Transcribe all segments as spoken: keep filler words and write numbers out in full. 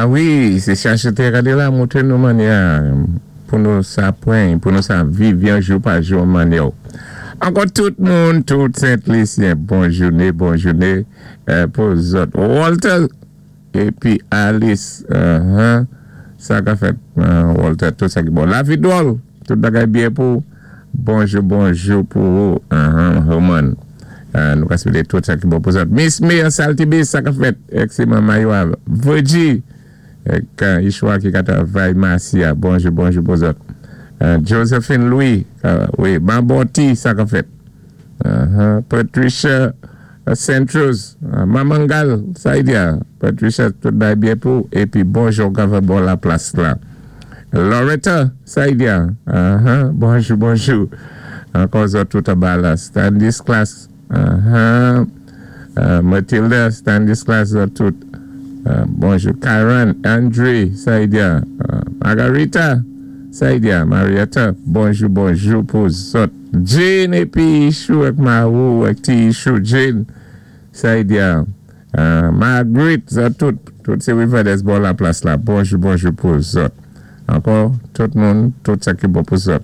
A wi, sé chacheté gadé la montré nou mannyè pou nou sa pwan, pou nou sa viv byen jou pa jou mannyè. Ankò tout moun, tout Sent-Lisyen, bon jouné, bon jouné euh, pou zòt. Walter épi Alice, uh-huh, sa ka fèt, euh, Walter, tout sa ki bon. Lavi dwòl, tout bagay byen pou, bonjou, bonjou pou ou, uh-huh, Roman. Euh, nou ka swété tout sa ki bon pou zòt. Miss May an Saltibus, sa ka fèt, èk sé manman yo Virgie, èk Ishwa ki ka travay Marcia, bonjou, bonjou pou zòt. Euh, Josephine Louis, euh, wi, Bamboti, sa ka fèt. Uh-huh. Patricia uh, Centros, uh, Mamangal, sa y di Patricia, tout bagay byen pou, épi bonjou, ka bon la plas la. Loretta, sa y di uh-huh. Bonjou, bonjou. Ankò zòt tout anba la. Stanislas, uh-huh. Uh, Matilda, Stanislas, zòt tout. Uh, bonjou. Karen, Andre, sa y di uh, Margarita, sa y di Marietta, bonjou, bonjou pou zòt. Jane épi Chou ak Marou, ak ti Chou, Jane, sa y di uh, Margaret, zòt tout, tout sé Riverdale bò la plas la. Bonjou, bonjou pou zòt. Ankò, tout moun, tout sa ki bon pou zòt.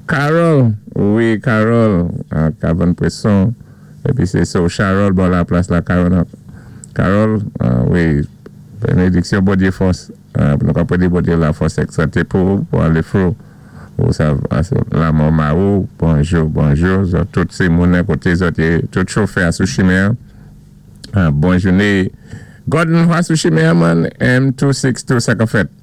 Carol, wi, Carol, Kavan Presson, épi sé so Charol bò la plas la, Carol, Carol, uh, wi, bénédiksyon Bondyé fòs, uh, nou ka pédi Bondyé la fòs èk santé pou, pou alé fro, ou sa, la Marou, bonjou, bonjou, zòt, tout sé moun koté zòt, tout chofè a sou chimen, uh, bon jouné. Gordon a sou chimen, man, M two six two, sa ka fèt.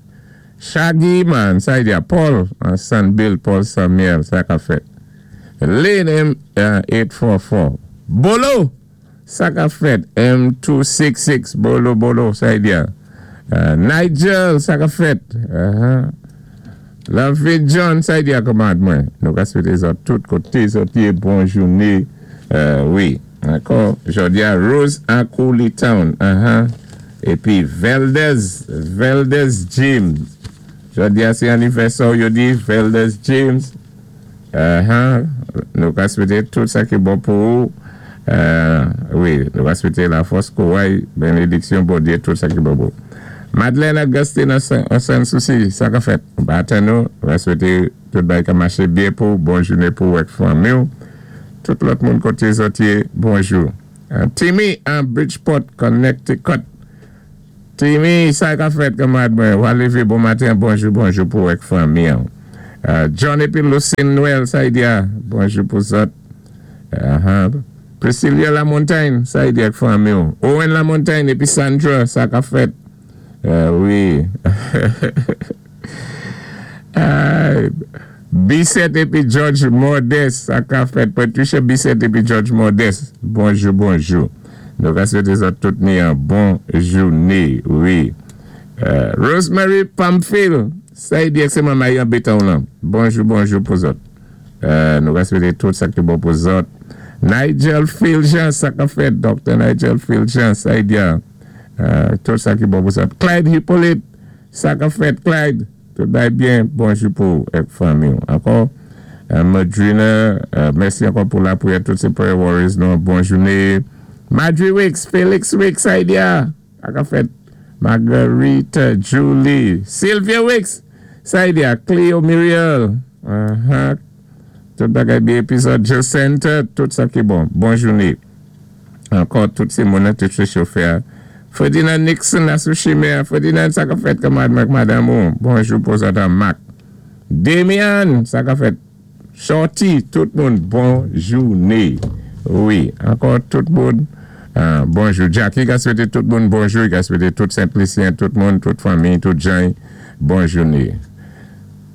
Shaggy, man, sa y di Paul, San Bill, Paul Samuel, sa ka fèt. Lane M eight four four. Bolo, sa ka fèt. M two six six, Bolo, Bolo, sa y di Uh, Nigel, sa ka fèt. Uh-huh. Love John, sa y di kanmarad mwen. Nou ka swété zòt tout koté zòt yé bon jouné. Euh, wi. Ankò, jòdi a Rose Akouli Town. Uh-huh. Épi Veldez, Veldez James. Jòdi a sé anivèsè yo di Veldez James. Uh-huh. Nou ka swété tout sa ki bon pou ou. Euh, wi, nou ka swété la fòs kouray, bénédiksyon Bondyé, tout sa ki bon pou ou. Madeleine Augustine an San Souci, sa ka fèt. Batan nou, nou ka swété tout bagay ka maché byen pou, bon jouné pou èk fanmi ou. Tout lòt moun koté zòt yé, bonjou. Uh, Timmy an Bridgeport, Connecticut. Timmy, sa ka fèt kanmarad mwen. Wa lévé bon maten, bonjou, bonjou pou èk fanmi. Uh, John épi Lucine Noël, sa y di bonjou pou zòt. Uh-huh. Priscilla Lamontagne, sa y di èk fanmi. Owen Lamontagne épi Sandra, sa ka fèt. Uh, wi. uh, Bisset épi George Modeste, sa ka fèt. Patricia Bisset épi George Modeste. Bonjou, bonjou. Nou ka swété zòt tout ni yon bon jouné, wi. Uh, Rosemary Pamphile, sa y di sé manman yon béton la. Bonjou, bonjou pou zòt. Uh, nou ka swété tout sa ki bon pou zòt. Nigel Philjean, sa ka fèt. Docteur Nigel Philjean, sa y di uh, tout sa ki bon pou zòt. Clyde Hippolyte, sa ka fèt, Clyde. Tout bagay byen, bonjou pou èk fanmi. Ankò, euh, Madrina, euh, mèsi ankò pou lapriyè, tout sé prayer warriors, nou, bon jouné. Madri Wicks, Felix Wicks, sa y di sa ka fèt. Marguerite, Julie, Sylvia Wicks, sa y di Cleo Muriel, uh-huh. Tout bagay byen, épizòd Jacinthe, tout sa ki bon. Bon jouné. Ankò, tout sé moun, tout sé chofè. Ferdinand Nixon a sou chimen. Ferdinand, sa ka fèt kanmarad madanm ou. Bonjou pou zòt Mac. Demian, sa ka fèt. Shorty, tout moun, bon jouné. Wi, ankò tout moun, euh, bonjou. Jackie ka swété tout moun bonjou, ka swété tout Sent-Lisyen, tout moun, tout fanmi, tout jan, bon jouné.